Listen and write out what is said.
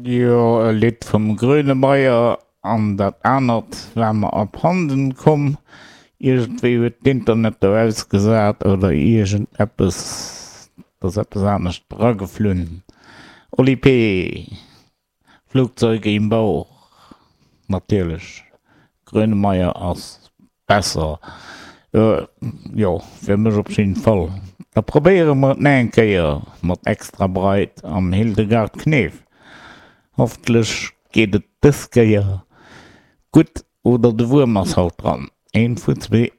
Jo, e Lidd vum Grönemeyer an dat anert war mer abhanden komm. Iergendwéi huet d'Internet do ausgesat oder iergendeppes, et ass eppes anescht drageflunn. Oli P. Flugzeuge im Bauch, natierlech, Grönemeyer ass besser, jo fir mech op jidden Fall. Da probéiere mer et nach eng Kéier mat Extrabreit an Hildegard Knef. Hoffentlech geet et dës Kéier gutt oder de Wuerm ass halt dran. Eent vun zwee.